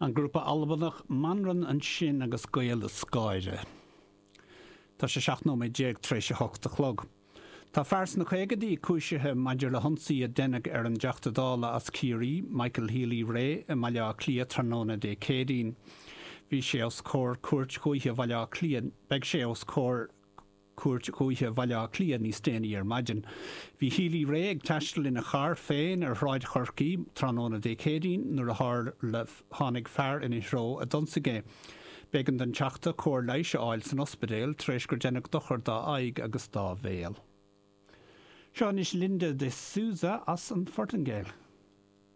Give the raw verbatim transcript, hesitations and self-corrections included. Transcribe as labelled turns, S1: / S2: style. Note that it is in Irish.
S1: An grúpa Albanach Manran ansin agus Gael is Gáire. Tá sé seacht nóiméad déag tar éis a hocht a chlog. Tá fear sna caogaidí cúisithe maidir le hionsaí a deineadh ar an dTeachta Dála as Ciarraí, Michael Healy-Rae, i mBaile Átha Cliath tráthnóna Dé Céadaoin. Bhí sé os comhair Cúirt Dhúiche Bhaile Átha Cliath, beidh sé os comhair Cúirt Dhúiche Bhaile Átha Cliath níos déanaí ar maidin. Bhí Healy-Rae ag taisteal ina charr féin ar Shráid Chorcaí tráthnóna Dé Céadaoin nuair a tharla tháinig fear ina threo a d'ionsaigh é. B'éigean don Teachta cóir leighis a fháil san ospidéal tar éis gur deineadh dochar dá aghaidh agus dá bhéal. Seo anois Linda de Souza as an Phortaingéil.